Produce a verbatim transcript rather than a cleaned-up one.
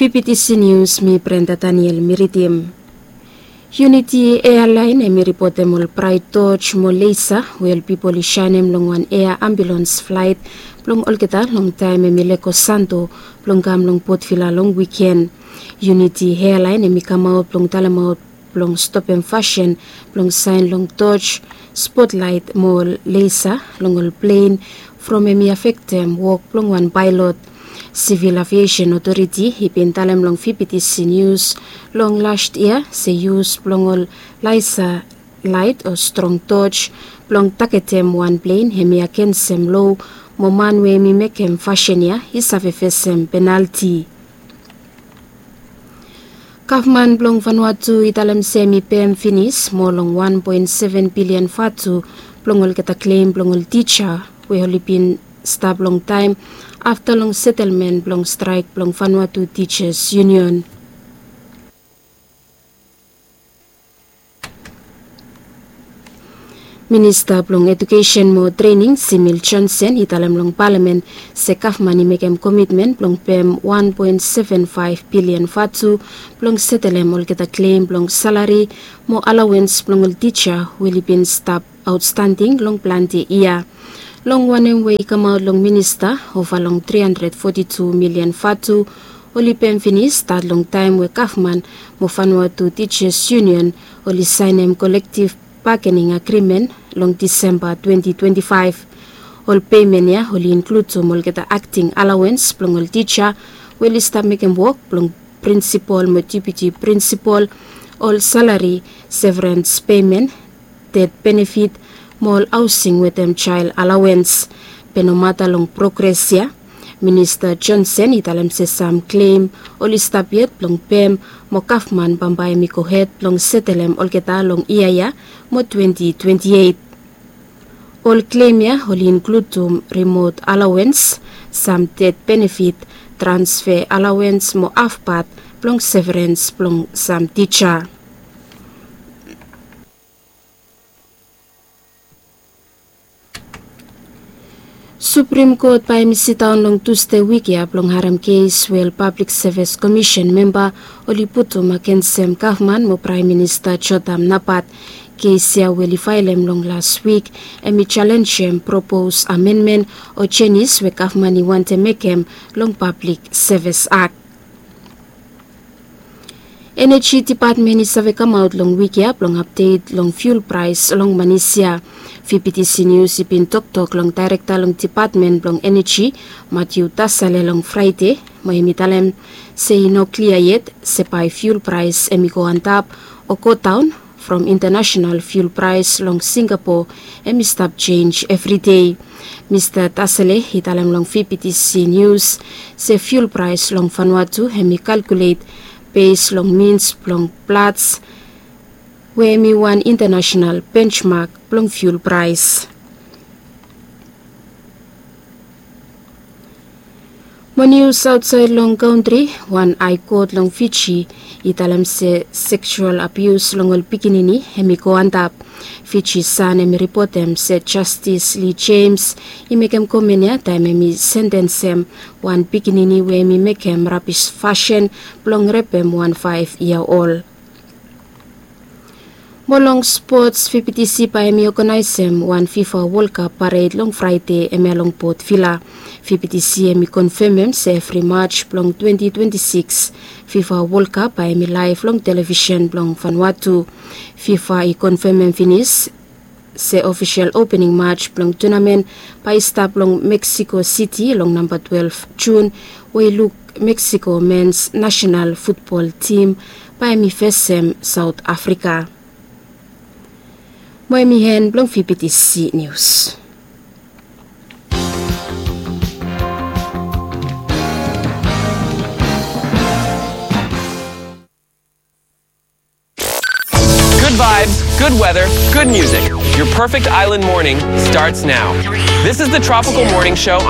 Fifty C News, mi Brenda Daniel mi ridim. Unity Airline hemi ripotem ol Bright Torch mo Laser we ol pipol i saenem long wan air ambulance flight blong olgeta long taem hemi lego Santo blong kam long Port Vila long wiken. Unity Airline hemi kamaot blong talemaot blong stopem fasin blong saen long torch, spotlight mo laser long ol plen from hemi afektem wok blong wan paelot. Civil Aviation Authority i bin talem long Fifty C News long last yia se yus blong ol laser light o strong torch blong tagetem wan plen hemi agensem loa mo man we hemi mekem fasin ya i save fesem penalti. Gavman blong Vanuatu i talem se hemi pem finis moa long wan poen seven bilian vatu blong olgeta klem blong ol tija we oli bin stap longtaem afta long setelmen blong straek blong Vanuatu Teachers Union. Minista blong Ejukesen mo Trening Simil Johnson i talem long palamen se gavman i mekem komitmen blong pem wan poen seven faef bilian vatu blong setelem olgeta klem blong salari mo alawens blong ol tija we oli bin stap aotstanding long plante yia. Long wanem we i kamaot long minista, ova long tri handred foti tu milian vatu oli pem finis stat long taem we gavman mo Vanuatu Teachers Union oli saenem kolektiv bagening agrimen long Disemba twenti twenti faef. Ol pemen ya oli inkludim olgeta akting alawens blong ol tija we oli stap mekem wok blong prinsipol mo deputi prinsipol, ol salari, severens pemen, ded benefit mo ol haosing wetem jael alawens. Be nomata long progres ya, Minista Johnson i talem se sam klem oli stap yet blong pem mo gavman bambae hemi gohed blong setelem olgeta long yia ya mo twenti twenti eit. Ol klem ya oli inkludim rimot alawens, sam ded benefit, transfe alawens mo hafpat blong severens blong sam tija. Suprim Kot bae hemi sidaon long Tusde wik ya blong harem kes we ol Pablik Sevis Komisen memba oli putum agensem gavman mo Praem Minista Jotham Napat. Kes ya we oli faelem long las wik hemi jalenjem propos amenmen o jenis we gavman i wantem mekem long Pablik Sevis Akt. Eneji Dipatmen i save kamaot long wik ya blong apdet long fiul praes long Manis ya. Fifty C News i bin toktok long daerekta long Dipatmen blong Eneji, Matthew Tasale, long Fraede, mo hemi talem se i no klia yet se bae fiul praes hemi go antap o godaon from intanasenal fiul praes long Singapo hemi stap jenj evridei. Mista Tasale i talem long Fifty C News se fiul praes long Vanuatu hemi kalkulet bes long mins blong Platts we hemi wan intanasenal benjmak blong fiul praes. Mo nius aotsaed long kantri, wan Hae Kot long Fiji i talem se seksual abius long ol pikinini hemi go antap. Fiji San hemi ripotem se Jastis Lee James i mekem komen ya taem hemi sentensem wan pikinini we hemi mekem rabis fasin blong repem wan faef yia ol. Mo long spots, Fifty C bae hemi oganaesem wan FIFA Wol Kap pared long Fraede hemia long Port Vila. Fifty C hemi konfemem se evri Maj blong twenti twenti sikis, FIFA Wol Kap bae hemi laef long televisen blong Vanuatu. FIFA i konfemem finis se ofisel opening maj blong tunamen bae i stap long Meksiko Siti long namba twelef Jun, we i luk Meksiko mens nasenal futbol tim bae hemi fesem Saot Afrika. Mo hemi en blong Fifty C Nius. Good vibes, good weather, good music. Your perfect island morning starts now. This is the Tropical Morning Show